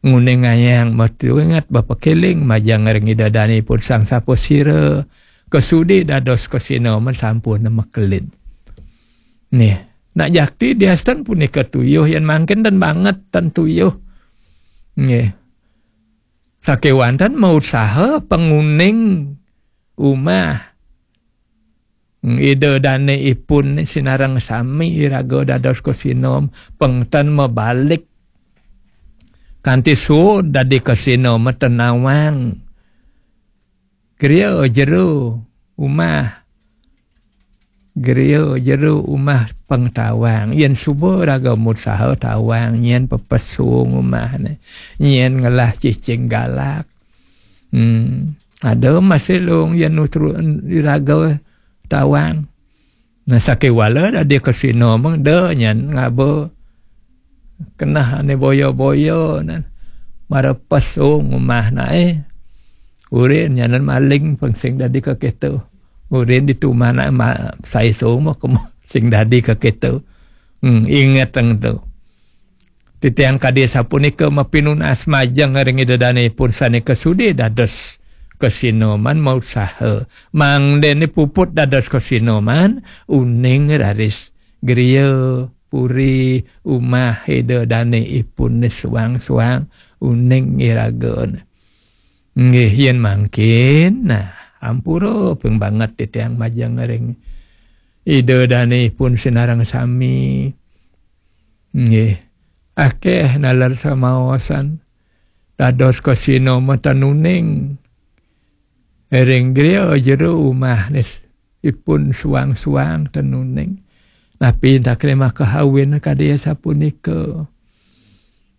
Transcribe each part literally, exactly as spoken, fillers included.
nguningayang, matuinget, bepekiling majeng ring Ida Dane ipun Sang Sapasira, kasudi dados kasinoman sampun makelid. Nih, nak jakti diasten punika tuyuh, yen mangkin ten banget ten tuyuh. Nggih. Sakewanten mautsaha panguning umah. Ida Dane ipun sinareng sami iraga dados kasinom, pengten mabalik kanti suud dadi kasinom ten nawang. Griya jero umah. Griya jero umah pang tawang. Yen suba raga mutsaha tawang, nyen pepes suung umahne. Nyen ngelah cicing galak. Hmm. Ada masih lung yen nutru raga tawang. Nah, sakéwala dadi kasinoman da nyan ngaba keneh ané boya-boya nan. Mara pas ong umah naé. Urin nyanan maling pang sing dadi kakéto. Urin ditu umah naé ma-, sai soma kema sing dadi kakéto. Hmm, inget ang tu. Titiang kadi sapunika mapinunas majeng ring Ida Dane ipun sané kasudi dados kasinoman mautsaha. Mangdene puput dados kasinoman, uning raris griya puri umah Ida Dane ipun suang-suang, uning iragana. Nggih, yen mangkin, nah, ampura ping banget titiang majeng ring Ida Dane ipun sinareng sami. Nggih. Akeh naler samaosan. Dados kasinoman ten uning. Ring griya jero umah nis ipun suang-suang ten uning. Napi takle makahawin kadi sapunika.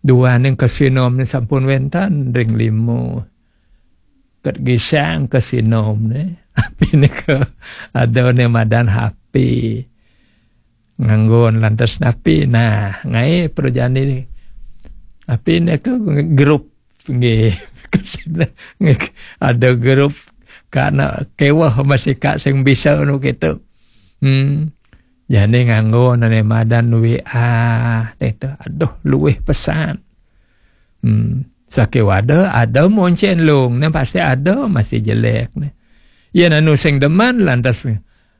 Duaning kasinoman sampun wenten ring lima. Ket gisang kasinomne. Napi nika ada ne madan H P. Nganggon lantas napi. Nah, ngaé prajani. Napi nika grup nggih. Ada grup kana kéweh masih kak sing bisa nu gitu. Hmm. Jani nganggo nane madan W A gitu. Aduh, luwih pesan. Hmm. Sakéwala ada moncén lung, né pasti ada masih jelek né. Yen anu sing demen lantas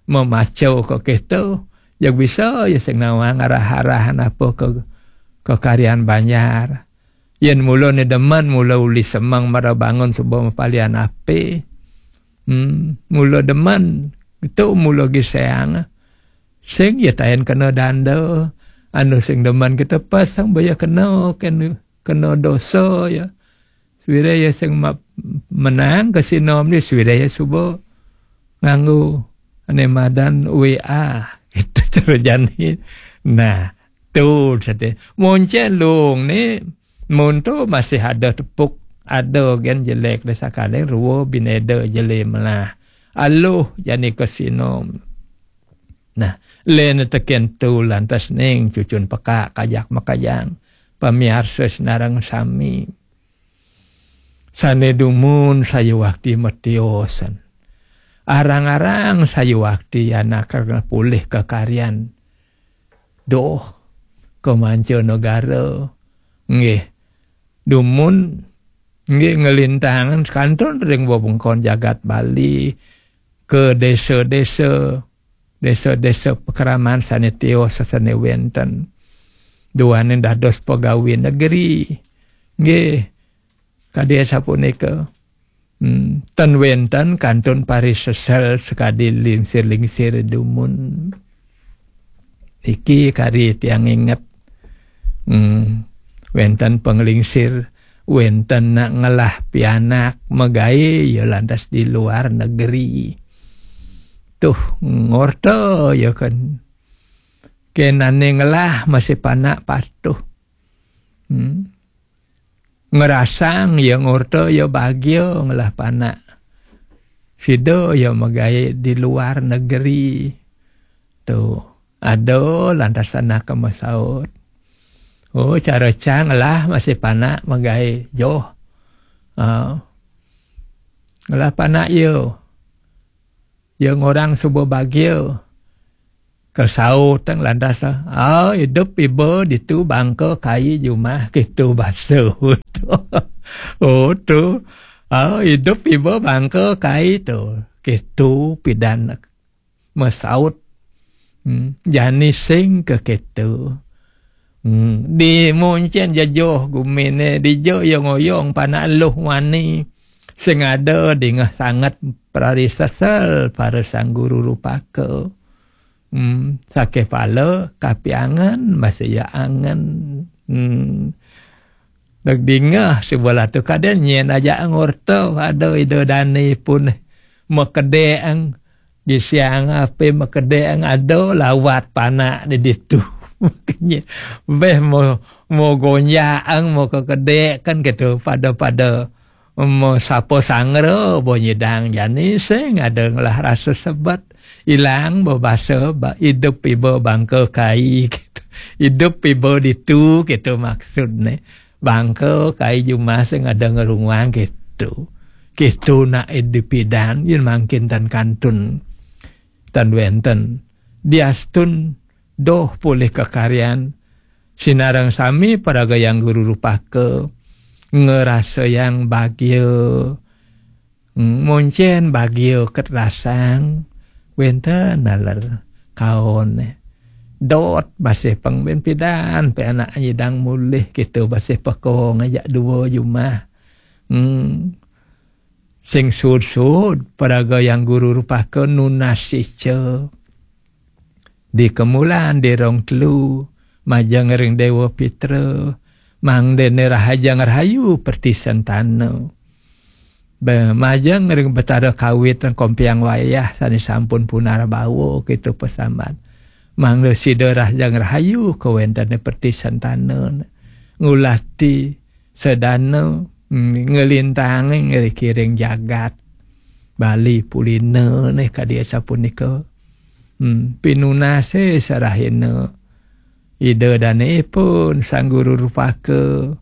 memaco ka kéto, ya bisa ya sing nawang arah-arahan apa ke, ke karyan banjar. Yen mula né demen, mula uli semeng mara bangun suba mapalian api. Hmm, mula demen, itu mula giseang. Sing ya tayen kena danda, anu sing demen kita pasang baya kena, kena, kena dosa ya. Suwira ya sing ma-, menang kasinom ni, suwira ya suba nganggo ane madan W A. Itu cara jani. Nah, tu sate. Moncén lung ni, mun tu masih ada tepuk, ada gen jelek deh, sakali rua bineda jeli melah. Aluh jani kasinom. Nah, len teken tu lantas ning cucun peka kajak makajang. Pamiarsa sinareng sami. Sane dumun sayuwakti matiosan. Arang-arang sayuwakti anak pulih kakaryan. Doh, ka manca negara. Nggih. Dumun, nggih, ngelintangan kantun ring wewengkon jagat Bali, ke desa-desa, desa-desa pakraman sane tios sane wenten. Duaning dados pegawi negeri. Nggih, kadi sapunika. Hmm, ten wenten kantun parisesel sakadi lingsir-lingsir dumun. Iki kari tiang inget. Hmm, wenten panglingsir, wenten nak ngelah pianak magae ya lantas di luar negeri. Tuh, ngorta ya kan. Kenane ngelah masih panak patuh. Hmm. Ngerasang ya ngorta ya bagia ngelah panak. Sida ya magae di luar negeri. Tuh, ada lantas anak masaut. Oh, cara cang lah masih panak magae joh. Ah. Ngelah panak ya. Ya ngorang suba bagia. Kesaut tang lantas, ah, idup iba ditu bangka kai jumah kitu basa. Oh, tu. Oh, idup iba bangka kai tu. Kitu pidan mesaut. Hmm, jani sing ke kitu. Hmm, di muncen jejoh gumine, di jo yong-oyong panak luh wani. Sing ada dingeh sanget prari sesel para sang guru rupaka. Hmm, sakeh pala kapiangan, masih ya angen. Hmm. Dek dingeh sebelah tu kaden nyen aja ngorta ada ida dani pun mekedek ang di siang ape mekedek ang ada lawat panak di ditu. Makanya beh mo mo gonjak ang mo kekedek kan gitu pada-pada mo sapa sangra bo nyidang jani sing ada ngelah rasa sebet ilang bo basa ba, idup iba bangka kai gitu. Idup iba ditu gitu maksudne. Bangka kai jumah sing ada ngerunguang gitu. Gitu nak idup idan yen mangkin tan kantun tan wenten. Diastun doh pulih kekaryan sinareng sami paragayang guru rupaka ngerasa yang bagia. Hmm, muncen bagia ket rasang wenten naler kaon dot masih peng ben pidan pe anak nyidang mulih gitu masih peko ngajak dua jumah. Hmm. Sing sud-sud paragayang guru rupaka nunas ica di kemulan di rong telu majeng ring Dewa Pitra mangdene rahajeng rahayu perti sentana. Be majeng ring Betara Kawit dan Kompiang Wayah sane sampun punar bawa kita pesambat. Mangda sida rahajeng rahayu kawentene perti sentana. Ngulati sedana, mm, ngelintangi ngerikiring jagat Bali Pulina nih kadi sapunika. Hmm, pinunase sarahina Ida dane ipun Sang Guru Rupaka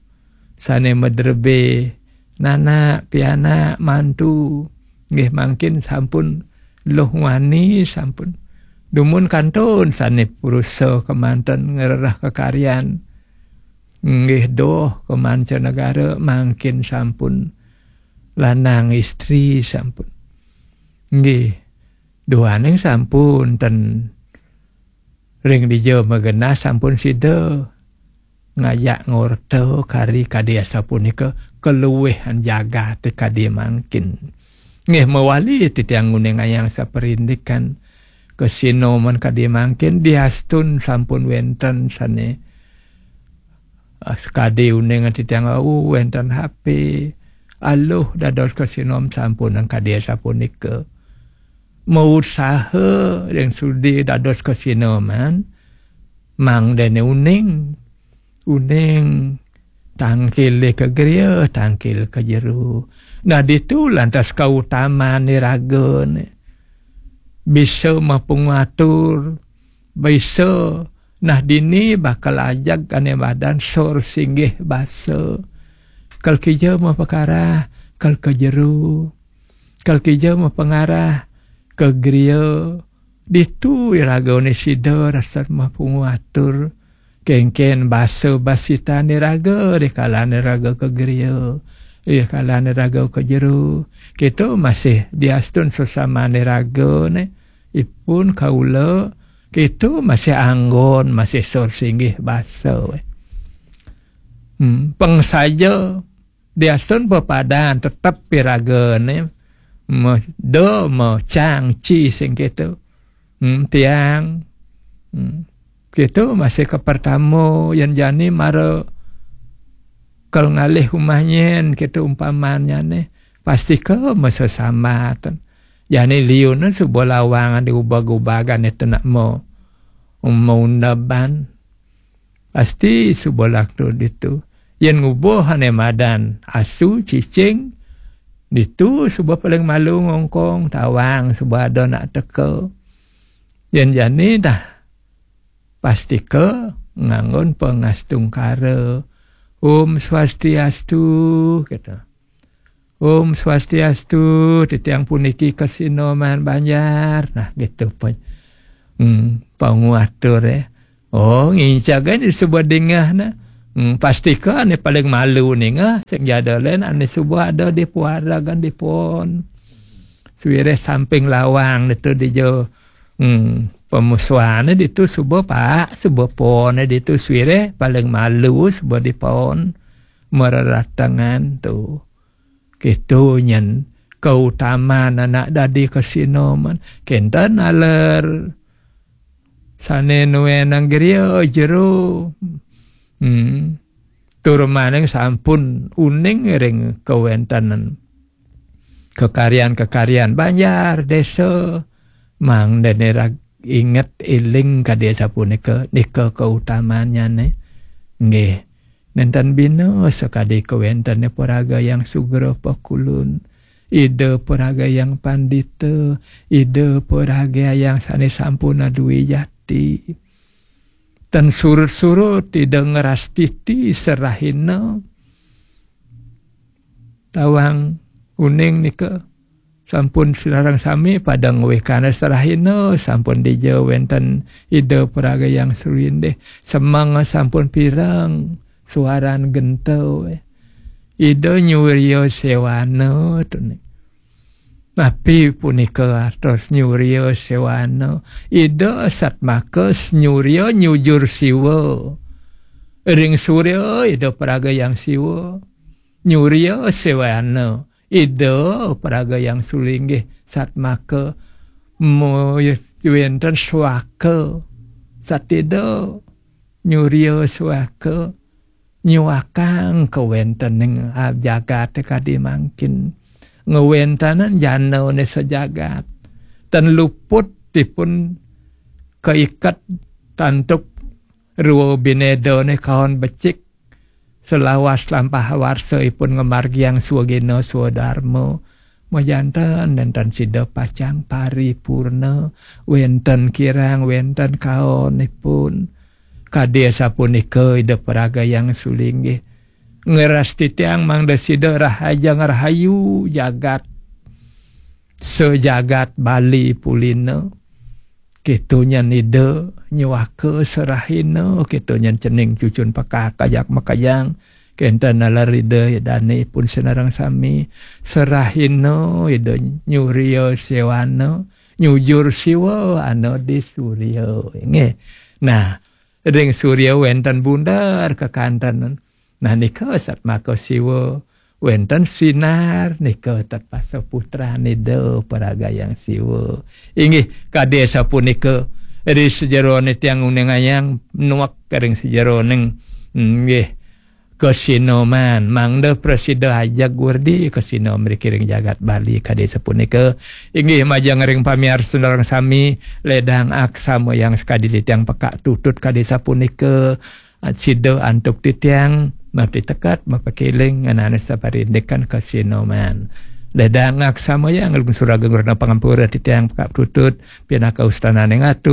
sane madrebe nanak pianak mantu nggih mangkin sampun luh wani sampun dumun kantun sane purusa kemanten ngrereh kekaryan nggih doh kemanca negara mangkin sampun lanang istri sampun nggih duaning sampun ten ring dija magenah sampun sida ngajak ngorta kari kadi asapunika kaluwihan jagate kadi mangkin. Nggih mawali titiang nguningayang saperindikan kasinoman kadi mangkin diastun sampun wenten sane ah, sakadi uning titiang wau wenten H P aluh dados kasinom sampun kadi asapunika. Mausaha ring sudi dados kasinoman mangdene uning uning tangkil ke griya tangkil ke jero. Nah ditu lantas kautaman iragane bisa mapungatur bisa nah dini bakal ajak ane badan sor singgih basa kal kija mapakarah kal ke jero kal kija mapangarah ke griya ditu iragane sida rasa mapungatur kengken basa basitane raga rikalane raga ke griya rikalane raga ke jero kita masih diastun sesamane raga ne ipun kaula kita masih anggon masih sor singgih basa we. Hmm, peng saja diastun pepadan tetep piragane me, do me cang ci sing kita. Hmm, tiang. Hmm. Kita masih ke pertama yang jani mara kal ngalih umah nyen kita umpamanya ne pasti ke masa sambat. Jani liun suba lawang diubag-ubagan itu nak mau mau undaban. Pasti suba laktu ditu. Yen ngubuh ane madan asu cicing ditu suba paling malu ngongkong tawang suba ada nak teka. Yen jani dah pastika nganggon pangastungkara. Om Swastiastu kita. Om Swastiastu titiang puniki kasinoman Banjar. Nah gitu pun. Hmm, panguatur ya. Oh ngincak kan disebut dingah nah. Hmm, pastika ane paling malu ninga, sing jada len ane suba ada di puaragan di pon. Suwireh samping lawang ditu dija, hmm, pamusuhane ditu suba pak, suba pone ditu suwireh paling malu suba di pon. Mararatengan tu. Keto nyen kautaman anak dadi kasinoman. Kenten aler sane nuenang griya jero. Hmm. Tur maning sampun uning ring kawentenan kekaryan-kekaryan banjar desa, mangdane rag inget eling kadi sapunika, nika kautamannyane. Nggih. Nenten bina sakadi kawentene paraga yang sugra pakulun. Ida paraga yang pandita, ida paraga yang sane sampun adui jati. Tan surut-surut ida ngrastiti serahina. Tawang uning nika sampun sinareng sami pada ngwekana serahina, sampun dija wenten ida paraga yang sulindih. Semeng sampun pireng, suaran genta. Ida nyuria sewana tuni. Napi punika atos nyuria sewana? Ida satmaka nyuria nyujur siwa. Ring surya ida paraga yang siwa. Nyuria sewana. Ida paraga yang sulinggih satmaka wenten suaka. Satida nyuria suaka. Nyuakang kawentening jagate kadi mangkin. Ngwentenan janane sajagat. Tan luput dipun kaiket tantuk rua binedane kaon becik. Selawas lampah warsa ipun ngamargiang swagena swadarma. Majanten nenten sida pacang paripurna, wenten kirang, wenten kaonipun. Kadi asapunika Ida Paraga Yang Sulinggih. Ngeras titiang mangda sida rahaja ngerahayu jagat. Sejagat Bali pulina. Keto nyen Ida nyuaka serahina, keto nyen cening cucun pekak kajak makajang, kenten nalar Ida dane pun senareng sami, serahina Ida nyuria sewana, nyujur siwa ana di surya. Nggih. Nah, ring surya wenten bundar kekanten. Nah, nika satmaka siwa, wenten sinar, nika tatpasa putran Ida Paraga Yang Siwa. Inggih, kadi sapunika, ri sajerone tiang uningayang nuek ring sajeroning, inggih, kasinoman, mangda prasida ajeg werdi kasino mriki ring jagat Bali, kadi sapunika. Inggih, majeng ring pamiarsa sareng sami, ledang aksama yang sakadi titiang pekak tutut kadi sapunika. Sida antuk titiang, mapiteket, mapakeling, ngenana saparindikan kasinoman. Ledang aksama yang lungsur agung rena pangampura titiang pekak tutut, pinaka ustanane ngatu.